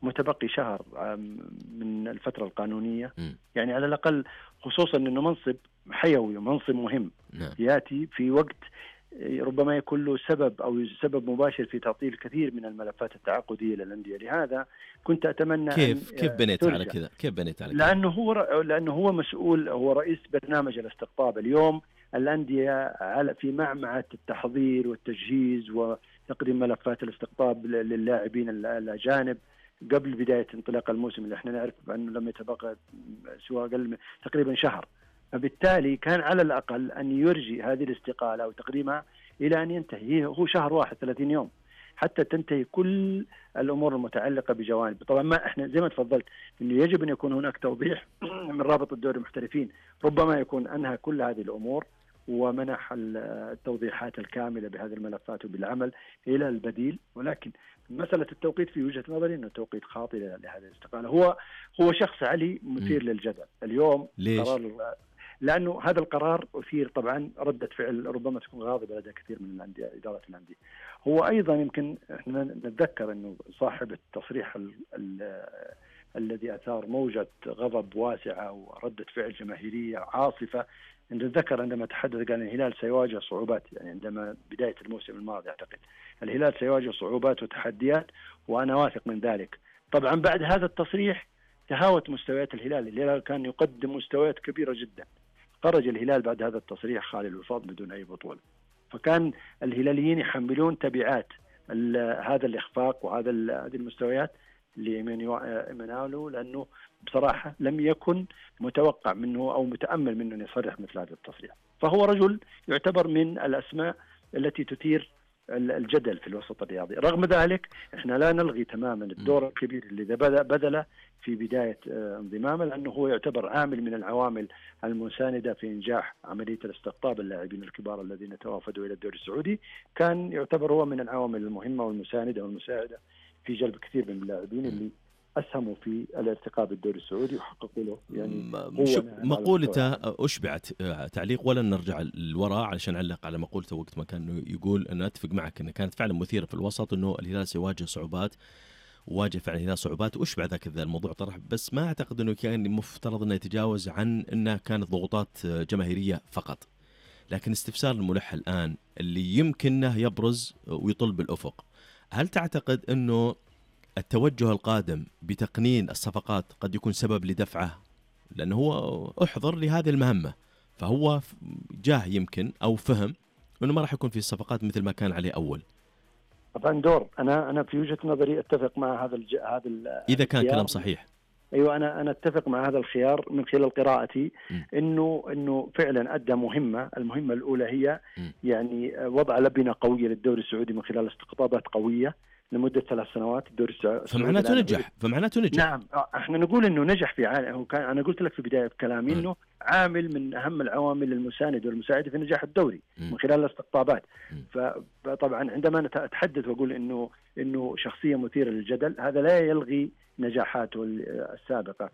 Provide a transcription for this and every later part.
متبقي شهر من الفترة القانونية، يعني على الأقل، خصوصا أنه منصب حيوي ومنصب مهم يأتي في وقت ربما يكون له سبب أو سبب مباشر في تعطيل كثير من الملفات التعاقدية للأندية. لهذا كنت أتمنى كيف بنيت على كذا؟ لأنه هو مسؤول، هو رئيس برنامج الاستقطاب. اليوم الأندية في معمعة التحضير والتجهيز وتقديم ملفات الاستقطاب للاعبين الأجانب قبل بداية انطلاق الموسم، اللي احنا نعرف أنه لم يتبقى سوى أقل تقريبا شهر. فبالتالي كان على الأقل أن يرجي هذه الاستقالة وتقديمها إلى أن ينتهي، هو شهر واحد 30 يوم حتى تنتهي كل الأمور المتعلقة بجوانب. طبعا ما احنا زي ما تفضلت إنه يجب أن يكون هناك توضيح من رابط الدوري المحترفين، ربما يكون أنهى كل هذه الأمور ومنح التوضيحات الكاملة بهذه الملفات وبالعمل إلى البديل. ولكن مسألة التوقيت في وجهة نظري أنه توقيت خاطئ لهذه الاستقالة. هو شخص علي مثير للجدل اليوم. قرار، لأنه هذا القرار أثير طبعا ردة فعل ربما تكون غاضبة لدى كثير من الأندية، إدارة الأندية. هو أيضا يمكن إحنا نتذكر أنه صاحب التصريح الذي أثار موجة غضب واسعة وردة فعل جماهيرية عاصفة، نتذكر عندما تحدث قال الهلال سيواجه صعوبات، يعني عندما بداية الموسم الماضي أعتقد الهلال سيواجه صعوبات وتحديات وأنا واثق من ذلك. طبعا بعد هذا التصريح تهاوت مستويات الهلال كان يقدم مستويات كبيرة جدا. خرج الهلال بعد هذا التصريح خالي الوفاض بدون أي بطولة، فكان الهلاليين يحملون تبعات هذا الإخفاق وهذه المستويات لإيمانويل، لأنه بصراحة لم يكن متوقع منه أو متأمل منه أن يصرح مثل هذا التصريح. فهو رجل يعتبر من الأسماء التي تثير الجدل في الوسط الرياضي. رغم ذلك احنا لا نلغي تماما الدور الكبير اللي بذله في بداية انضمامه، لأنه هو يعتبر عامل من العوامل المساندة في إنجاح عملية الاستقطاب اللاعبين الكبار الذين توافدوا إلى الدوري السعودي. كان يعتبر هو من العوامل المهمة والمساندة والمساعدة في جلب كثير من اللاعبين اللي أسهموا في الارتقاء بالدوري السعودي وحققوا له. يعني مقولته أشبعت تعليق، ولا نرجع للوراء علشان علق على مقولته وقت ما كان يقول أنا أتفق معك أنه كانت فعلا مثيرة في الوسط، أنه الهلال سيواجه صعوبات، واجه فعلا الهلال صعوبات وأشبع ذاك الموضوع طرح. بس ما أعتقد أنه كان مفترض أنه يتجاوز عن أنها كانت ضغوطات جماهيرية فقط. لكن استفسار الملح الآن اللي يمكنه يبرز ويطل بالأفق، هل تعتقد أنه التوجه القادم بتقنين الصفقات قد يكون سبب لدفعه؟ لأنه هو أحضر لهذه المهمة، فهو جاه يمكن أو فهم أنه ما راح يكون في الصفقات مثل ما كان عليه أول. طبعا دور أنا في وجهة نظري أتفق مع هذا إذا كان كلام صحيح. أيوة، أنا أتفق مع هذا الخيار من خلال قراءتي إنه فعلا أدى المهمة الأولى هي يعني وضع لبنة قوية للدوري السعودي من خلال استقطابات قوية لمدة 3 سنوات. الدوري السعودي فمعناته نجح. نعم، احنا نقول انه نجح في عالم. انا قلت لك في بداية كلامي انه عامل من اهم العوامل المساندة والمساعدة في نجاح الدوري من خلال الاستقطابات. فطبعا عندما اتحدث واقول انه شخصية مثيرة للجدل، هذا لا يلغي نجاحاته السابقة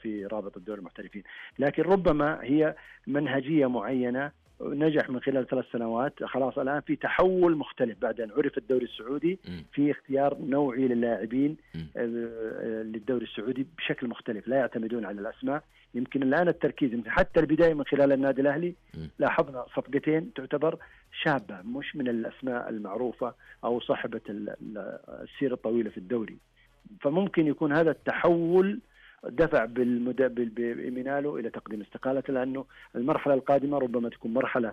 في رابط الدوري المحترفين، لكن ربما هي منهجية معينة نجح من خلال 3 سنوات. خلاص الآن في تحول مختلف بعد أن عرف الدوري السعودي في اختيار نوعي للاعبين للدوري السعودي بشكل مختلف، لا يعتمدون على الأسماء. يمكن الآن التركيز حتى البداية من خلال النادي الأهلي لاحظنا صفقتين تعتبر شابة، مش من الأسماء المعروفة أو صاحبة السيرة الطويلة في الدوري. فممكن يكون هذا التحول دفع بإيمانويل إلى تقديم استقالته، لأنه المرحلة القادمة ربما تكون مرحلة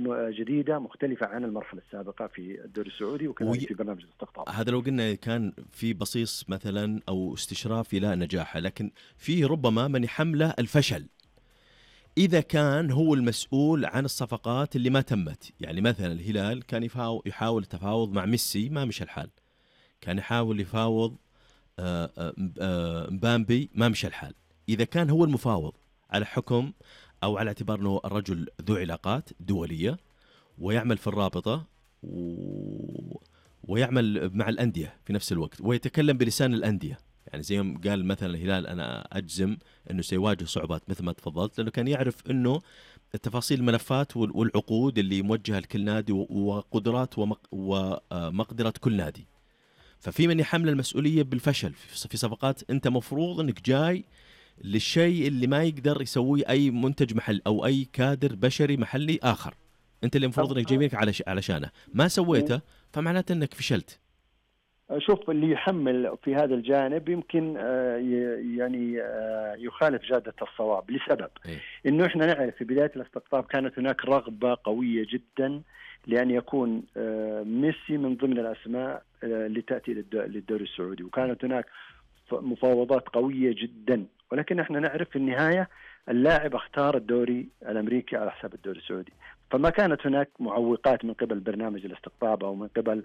جديدة مختلفة عن المرحلة السابقة في الدوري السعودي وكذلك في برنامج الاستقطاب. هذا لو قلنا كان في بصيص مثلا أو استشراف إلى نجاحه، لكن فيه ربما من يحمله الفشل إذا كان هو المسؤول عن الصفقات اللي ما تمت. يعني مثلا الهلال كان يحاول التفاوض مع ميسي، ما مشى الحال. كان يحاول يفاوض مبامبي، ما مشى الحال. إذا كان هو المفاوض على حكم أو على اعتبار أنه الرجل ذو علاقات دولية ويعمل في الرابطة ويعمل مع الأندية في نفس الوقت ويتكلم بلسان الأندية، يعني زي ما قال مثلا الهلال أنا أجزم أنه سيواجه صعوبات مثل ما تفضلت، لأنه كان يعرف أنه التفاصيل الملفات والعقود اللي موجهة لكل نادي وقدرات ومقدرة كل نادي. ففي من يحمل المسؤولية بالفشل في صفقات أنت مفروض أنك جاي للشيء اللي ما يقدر يسويه أي منتج محل أو أي كادر بشري محلي آخر، أنت اللي مفروض أنك جايبينك علشانه، ما سويته فمعناته أنك فشلت. شوف، اللي يحمل في هذا الجانب يمكن يعني يخالف جادة الصواب لسبب إنه إحنا نعرف في بداية الاستقطاب كانت هناك رغبة قوية جدا لأن يكون ميسي من ضمن الأسماء اللي تأتي للدوري السعودي، وكانت هناك مفاوضات قوية جدا، ولكن إحنا نعرف في النهاية اللاعب اختار الدوري الأمريكي على حساب الدوري السعودي، فما كانت هناك معوقات من قبل برنامج الاستقطاب أو من قبل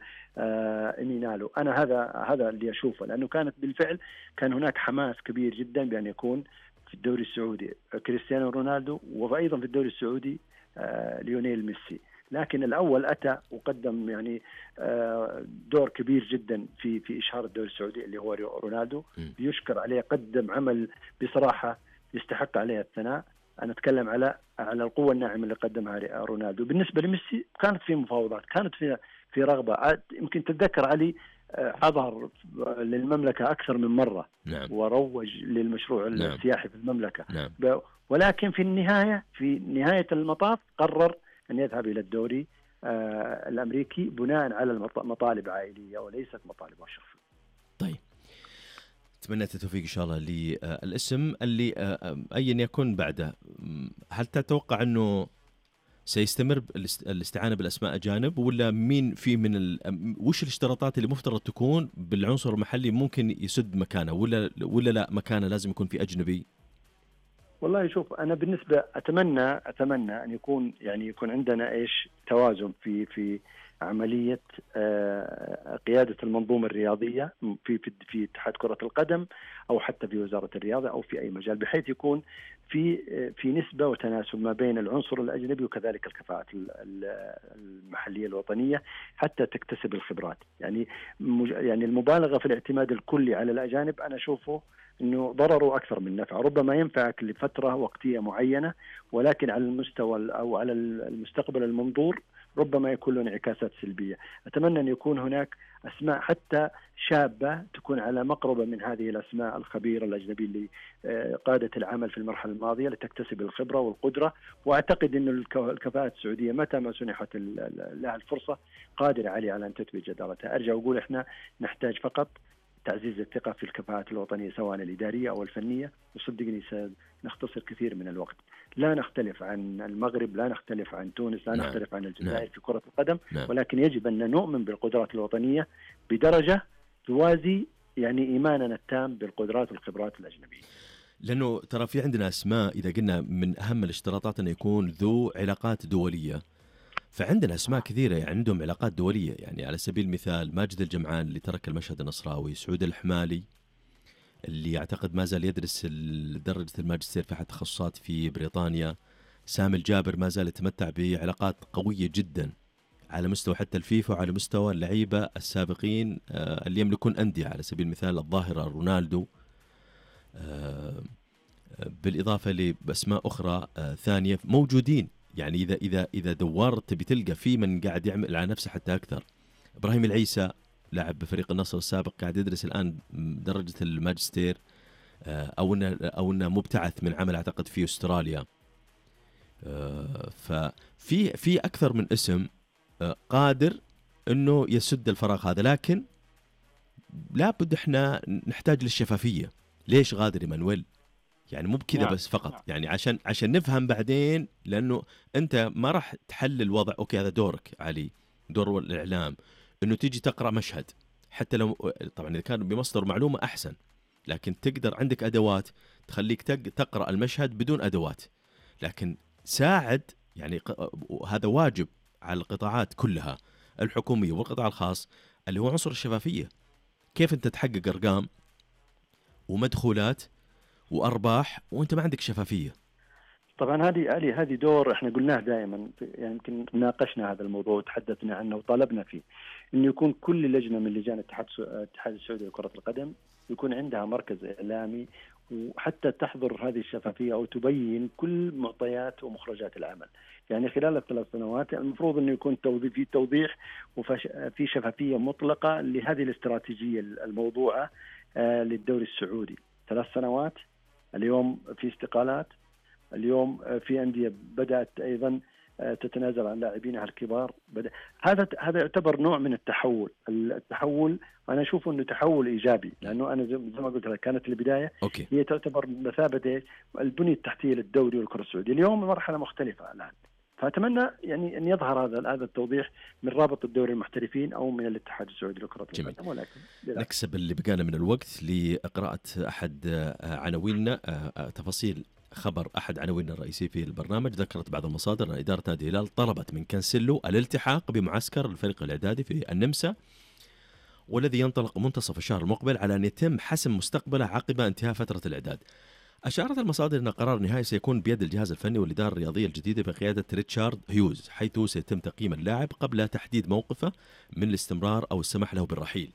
إنينالو. أنا هذا اللي أشوفه، لأنه كانت بالفعل كان هناك حماس كبير جدا بأن يكون في الدوري السعودي كريستيانو رونالدو، وأيضا في الدوري السعودي ليونيل ميسي. لكن الأول أتى وقدم يعني دور كبير جدا في إشهار الدوري السعودي اللي هو رونالدو، يشكر عليه، قدم عمل بصراحة يستحق عليه الثناء. أنا أتكلم على القوة الناعمة اللي قدمها رونالدو. بالنسبة لميسي كانت في مفاوضات، كانت في رغبة. يمكن تتذكر علي حضر للمملكة أكثر من مرة، نعم. وروج للمشروع السياحي في المملكة، نعم. ولكن في نهاية المطاف قرر أن يذهب إلى الدوري الأمريكي بناء على مطالب عائلية وليست مطالب شخصية. طيب، أتمنى التوفيق إن شاء الله للاسم اللي أيا يكن بعده. هل تتوقع أنه سيستمر الاستعانة بالأسماء أجانب، ولا مين في وش الاشتراطات اللي مفترض تكون بالعنصر المحلي ممكن يسد مكانه، ولا لا مكانه لازم يكون في أجنبي؟ والله شوف، أنا بالنسبة أتمنى أن يكون عندنا توازن في عملية قيادة المنظومة الرياضية في اتحاد كرة القدم أو حتى في وزارة الرياضة أو في أي مجال، بحيث يكون في نسبة وتناسب ما بين العنصر الأجنبي وكذلك الكفاءات المحلية الوطنية حتى تكتسب الخبرات. يعني المبالغة في الاعتماد الكلي على الأجانب أنا أشوفه إنه ضرره أكثر من نفعه. ربما ينفعك لفترة وقتية معينة، ولكن على المستوى أو على المستقبل المنظور ربما يكون له انعكاسات سلبية. أتمنى أن يكون هناك أسماء حتى شابة تكون على مقربة من هذه الأسماء الخبيرة الأجنبية اللي قادت العمل في المرحلة الماضية لتكتسب الخبرة والقدرة. وأعتقد أن الكفاءات السعودية متى ما سنحت لها الفرصة قادرة على أن تثبت جدارتها. أرجع أقول إحنا نحتاج فقط تعزيز الثقة في الكفاءات الوطنية سواء الإدارية أو الفنية، وصدقني سنختصر كثير من الوقت. لا نختلف عن المغرب، لا نختلف عن تونس، لا نختلف عن الجزائر في كرة القدم، ولكن يجب أن نؤمن بالقدرات الوطنية بدرجة توازي إيماننا التام بالقدرات والخبرات الأجنبية. لأنه ترى في عندنا أسماء إذا قلنا من أهم الاشتراطات أن يكون ذو علاقات دولية، فعندنا أسماء كثيرة عندهم علاقات دولية. يعني على سبيل المثال ماجد الجمعان اللي ترك المشهد النصراوي، سعود الحمالي اللي يعتقد ما زال يدرس درجة الماجستير في أحد التخصصات في بريطانيا، سامي الجابر ما زال يتمتع بعلاقات قوية جدا على مستوى حتى الفيفا وعلى مستوى اللعيبة السابقين اللي يملكون أندية، على سبيل المثال الظاهرة رونالدو، بالإضافة لأسماء أخرى ثانية موجودين. يعني إذا دورت تبي تلقى في من قاعد يعمل على نفسه حتى أكثر. إبراهيم العيسى لاعب بفريق النصر السابق قاعد يدرس الآن درجة الماجستير، أو إنه مبتعث من عمل أعتقد في أستراليا. ففي أكثر من اسم قادر إنه يسد الفراغ هذا، لكن لابد إحنا نحتاج للشفافية. ليش غادر إيمانويل؟ يعني مو بكذا بس فقط، يعني عشان نفهم بعدين، لأنه أنت ما راح تحلل الوضع. أوكي هذا دورك علي، دور الإعلام، إنه تيجي تقرأ مشهد، حتى لو طبعا إذا كان بمصدر معلومة أحسن، لكن تقدر عندك أدوات تخليك تقرأ المشهد بدون أدوات. لكن ساعد، يعني هذا واجب على القطاعات كلها الحكومية والقطاع الخاص اللي هو عنصر الشفافية. كيف أنت تحقق أرقام ومدخولات وأرباح وأنت ما عندك شفافية؟ طبعا هذه دور احنا قلناه دائما، يعني يمكن ناقشنا هذا الموضوع وتحدثنا عنه وطالبنا فيه انه يكون كل لجنه من لجان الاتحاد السعودي لكرة القدم يكون عندها مركز إعلامي، وحتى تحضر هذه الشفافية أو تبين كل معطيات ومخرجات العمل. يعني خلال الثلاث سنوات المفروض أنه يكون في توضيح وفي شفافية مطلقة لهذه الاستراتيجية الموضوعة للدوري السعودي. 3 سنوات، اليوم في استقالات، اليوم في أندية بدأت أيضا تتنازل عن لاعبينها الكبار. هذا يعتبر نوع من التحول. أنا أشوف أنه تحول إيجابي، لأنه أنا زي ما قلت لك كانت البداية هي تعتبر مثابة البنية التحتية للدوري والكرة السعودية. اليوم مرحلة مختلفة الآن، فأتمنى يعني أن يظهر هذا التوضيح من رابط الدوري المحترفين أو من الاتحاد السعودي لكرة القدم. ولكن نكسب اللي بقانا من الوقت لقراءة أحد عناويننا. تفاصيل خبر أحد عناويننا الرئيسي في البرنامج. ذكرت بعض المصادر أن إدارة نادي الهلال طلبت من كانسيلو الالتحاق بمعسكر الفريق الإعدادي في النمسا، والذي ينطلق منتصف الشهر المقبل، على أن يتم حسم مستقبله عقب انتهاء فترة الإعداد. أشارت المصادر أن قرار النهائي سيكون بيد الجهاز الفني والإدارة الرياضية الجديدة بقيادة ريتشارد هيوز، حيث سيتم تقييم اللاعب قبل تحديد موقفه من الاستمرار أو السماح له بالرحيل.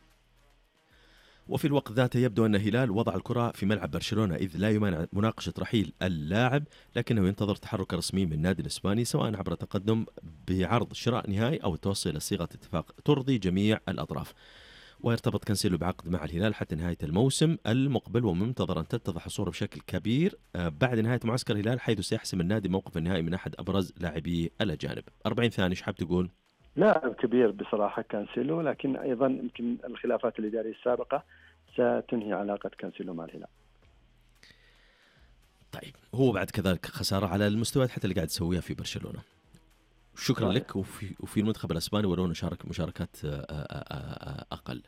وفي الوقت ذاته يبدو أن الهلال وضع الكرة في ملعب برشلونة، إذ لا يمانع مناقشة رحيل اللاعب، لكنه ينتظر تحرك رسمي من النادي الإسباني، سواء عبر تقدم بعرض شراء نهائي أو التوصل إلى صيغة اتفاق ترضي جميع الأطراف. ويرتبط كانسيلو بعقد مع الهلال حتى نهاية الموسم المقبل، ومنتظر أن تتضح الصورة بشكل كبير بعد نهاية معسكر الهلال، حيث سيحسم النادي موقف النهائي من أحد أبرز لاعبي الأجانب. 40 ثانية، ايش حاب تقول؟ لاعب كبير بصراحة كانسيلو، لكن أيضا يمكن الخلافات الإدارية السابقة ستنهي علاقة كانسيلو مع الهلال. طيب، هو بعد كذلك خسارة على المستويات حتى اللي قاعد تسويها في برشلونة. شكرا لك. وفي المنتخب الأسباني ولو نشارك مشاركات أقل.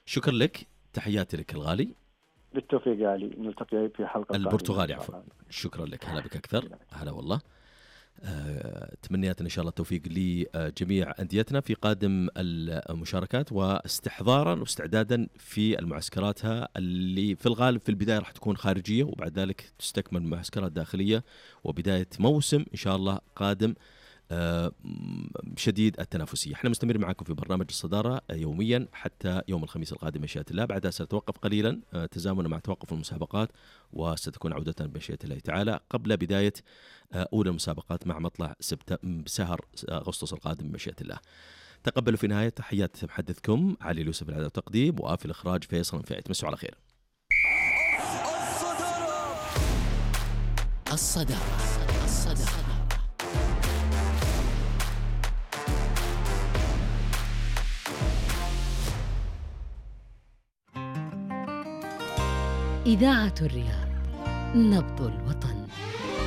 شكرا لك، تحياتي لك الغالي. بالتوفيق يا علي، نلتقي في حلقة البرتغالي عفوا. شكرا لك، هلا بك أكثر. هلا والله. تمنياتنا إن شاء الله التوفيق لجميع أنديتنا في قادم المشاركات، واستحضارا واستعدادا في المعسكراتها اللي في الغالب في البداية راح تكون خارجية، وبعد ذلك تستكمل معسكرات داخلية، وبداية موسم إن شاء الله قادم شديد التنافسية. احنا مستمر معكم في برنامج الصدارة يوميا حتى يوم الخميس القادم بمشيئة الله. بعدها سنتوقف قليلا تزامنا مع توقف المسابقات، وستكون عودتنا بمشيئة الله تعالى قبل بداية أولى المسابقات مع مطلع شهر أغسطس القادم بمشيئة الله. تقبلوا في نهاية تحيات محدثكم علي اليوسف العدد والتقديم، وفي الإخراج فيصل فائت. مسوا على خير. الصدارة. إذاعة الرياض، نبض الوطن.